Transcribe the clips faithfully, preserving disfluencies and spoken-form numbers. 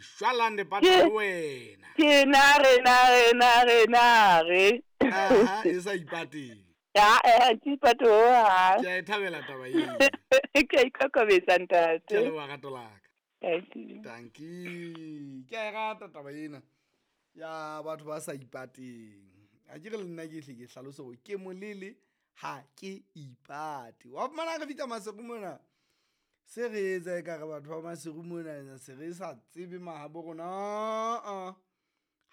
Shwalane pata wena. Ke na re na re na re na re. Aha, e sa ipateng. Ya, eh ke ipato ha. Ke a e thabela taba eo. Ke a ikokobetsa ntate. Ke a leboha rato la ka. Thank you. Tanki. Ke a e rata taba ena ya batho ba sa ipateng. A ke re le nna ke hle ke hlalose hore ke molele ha ke ipate. Wa fumana re fihla Maseru mona. Se re etsa ekare batho ba Maseru mona se re sa tsebe mahabo rona. A-a.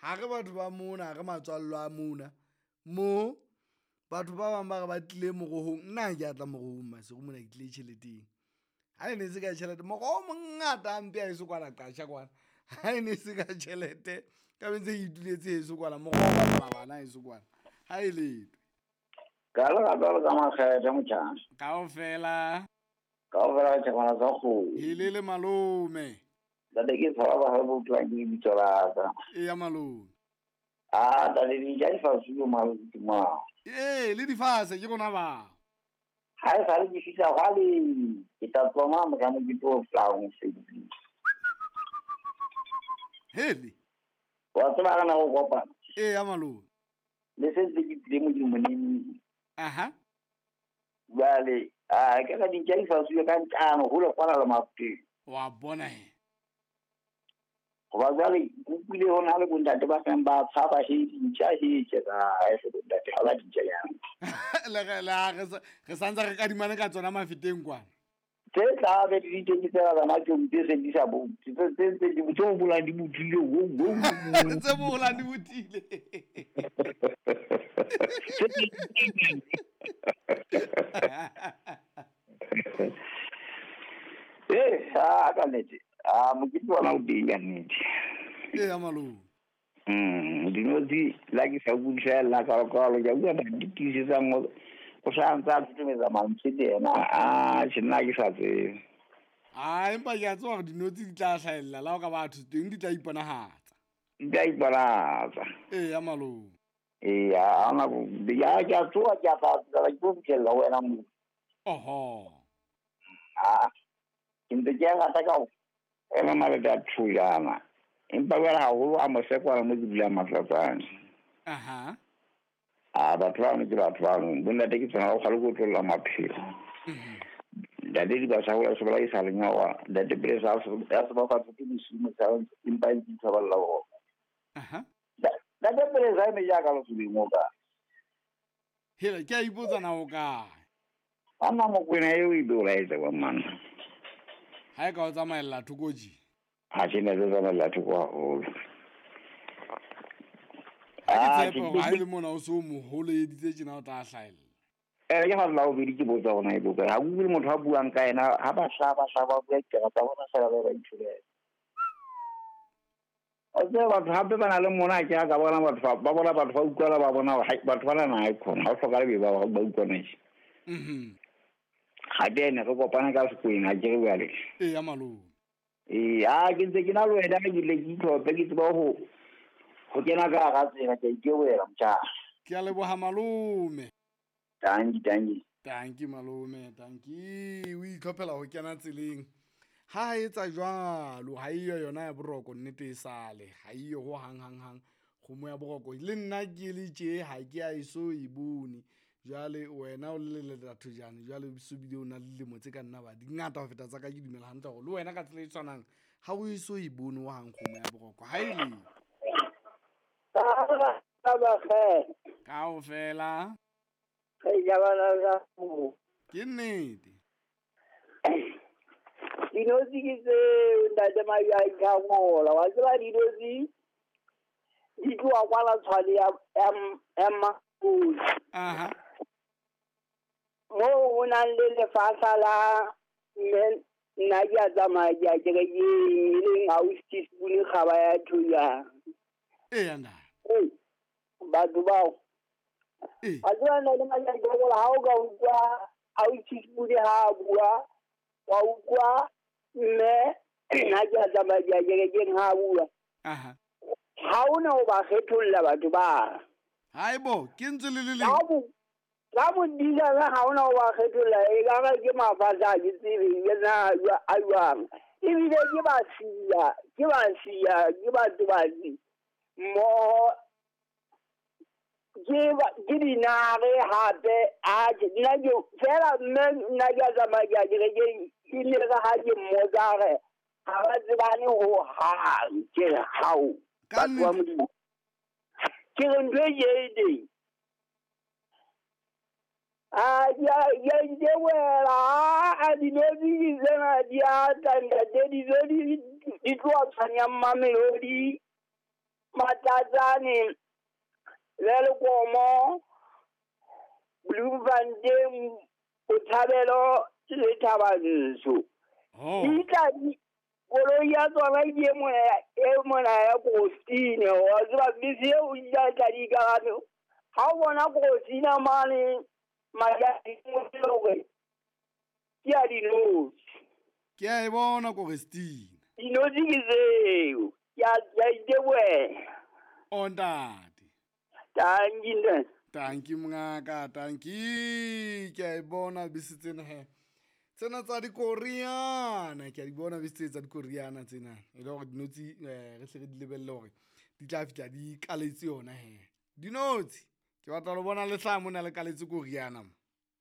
Ha re batho ba mona, ha re matswallo a mona. Mo batho ba bang ba re ba tlile morohong. Nna ha ke a tla morohong Maseru mona, ke tlile tjheleteng. Ha e ne se ka tjhelete, moroho o mongata hampe ha eso kwana qasha kwana. Ha e ne se ka tjhelete, ka be ntse ke ituletse heso kwana, moroho o bapala bana heso kwana. Ha e letho. Ka le rata le ka makgethe motjhana. Kaofela. Kaofela re tjhekwana tsa kgomo. Helele malome. Ntate ke tshaba ba ha bo utlwang ke lebitso la ka. Eya malome. Ah, ntate di ja difase yo malome ke mang? Ee, le difase ke rona ba. Ha e sale ke fihla hwale, ke tla tsoma mohlang ke tlo flang mosebetsing. Hele. Wa tseba re na go kopana. Eya malome. Le se ntse ke tlile modimo neng. Aha. Jwale, ah, ke ka dintja di fasuwe ka ntlano hole kwana le Mafuteng. Wa bona he. Hoba jwale ke utlwile ho na le bontate ba seng ba tshaba he dintja he tje ka ha e se bontate ha ba dintja yang. Le re le ha re sa re santse re kadimane ka tsona Mafeteng kwana. Tse tla be di teng tsela tsana ke mpe se di sa bo. Tse tse tse di tse bolang di bothile wo wo. Tse bolang di bothile. Eh, ah ka nnete. Ah mokete ona o teng ka nnete. Eya malome. Mm, dinotshi la ke sa bue fela ka kwalo ke bua di tiisetsang o o sa ntse a thutometsa mantswe le yena. Ah, tjhe nna ke sa tsebe. Ah, empa ke a tseba hore dinotshi di tla hlahella la ho ka batho teng di tla iponahatsa. Di tla iponahatsa. Eya malome. Eya, ha hona bo ya ke a tsoha ke a tla ke tlo fihlella ho wena moo. Oho. Ah, ke ntse ke a rata ka ho ema malete a thujana. Empa jwale haholo a mosekwana mo ke dulang Matlatsane. Aha. Ah, batho bano ke batho bano. Bontate ke tsona ho kgale ko tlolla maphelo. Ntate di ba sa hola se bolae sa lenyawa. Ntate pele sa ya se ba fatse ke bosiu motshehare empa e ntse ba lla ho. Aha. Ntate pele sa eme jaaka lesobeng o kae? Hela ke a ipotsa na o kae? Banna Mokwena eo e be o laetsa kwa mmanna. Ha e ka o tsamaella thoko tje. Ha ke ne ke tsamaella thoko haholo. Ha ke Ah, tshepe hore ha e le mona o so moholo editse tjena o tla hlahella. Eh, ke ha la o bedi ke botsa hona e bokae. Ha o motho a buang ka yena, ha ba hla ba hla ba bua ditaba tsa bona fela ba ba itholela. O tseba batho hape ba na le mona ke ha ka bona batho ba ba bona batho ba utlwala ba bona hore batho ba na na e khona. Ha o hlokahale be ba ba utlwana tje. Mhm. Ha ke ene re kopana ka sekweng ha ke re jwale. Eya malome. Ee, ah ke ntse ke na le wena ke ile ke itlhophe ke tseba ho ho kena ka hara tsela ke a ikebela motjhana. Ke a leboha malome. Tanki, tanki. Tanki malome, tanki. O itlhophela ho kena tseleng. Ha etsa jwalo, ha eyo yona ya boroko nnete e sale. Ha eyo ho hang hang hang kgomo ya boroko. Le nna ke le tje ha ke a eso e bone. Jwale wena o le letatho jane, jwale o so bile o na le dilemo tse ka nna ba di ngata ho feta tsa ka, ke dumela hantle hore le wena ka tsela e tshwanang ha o eso e bone ho hang kgomo ya boroko. Ha e le. Kaofela. Ke nnete. Dinotshi ke tseo ntate Mabjang ka ngola. Wa tseba dinotshi di tloha kwana Tshwane ya ya ya Mmampodi. Aha. Moo ho nang le lefahla la mme nna ke a tsamaya ke ya kerekeng e leng ausi Teaspoon kgaba ya Thoyang. Eya ntate. Ee, batho bao. Ee. Wa tseba ntate Mabjang ka ngola ha o ka utlwa ausi Teaspoon ha a bua, wa utlwa mme nna ke a tsamaya ke ya kerekeng ha a bua. Aha. Ha hona ho ba kgetholla batho ba. Haebo, ke ntse le le leng. Ha bo ka modisa ha hona ho ba kgetholla e ka ba ke mafatshe a ke tsebe ke na a jwang. Ebile ke ba siya, ke ba siya, ke batho mmoho ke ba ke dinare hape atjhe nna ke fela mme nna ke a tsamaya ke ya kerekeng e le re ha ke mmotsa re ha ba tsebane ho hang ke re hao Ka batho ba nnete. Modimo ke re ntho e ke e teng a ke a ke a itebohela a dinotshi ke tsena di a tla ntate dijo di di tloha tshwanyang Mamelodi Matlatsane Welkomo Bloemfontein Botshabelo le Thabantsho Oh. di tla di koloi ya tsona ke e mona e mona ya Krostine wa tseba bese eo di tla tla di ikarame ha o bona Krostina mane majading hore ke ya dinotshi Ke a e bona Korestina. dinotshi ke tseo ke a ke a itebohela O ntate. tanki ntate Tanki mongaka, tanki. Ke a e bona bese tsena he. Tsena tsa dikoriana, ke a di bona bese tse tsa dikoriana tsena. E le hore dinotshi eh, re hle re di lebelle hore di tla fihla di kaletse yona he. Dinotshi, ke batla lo bona le hlaha mona le kaletse koriana mo.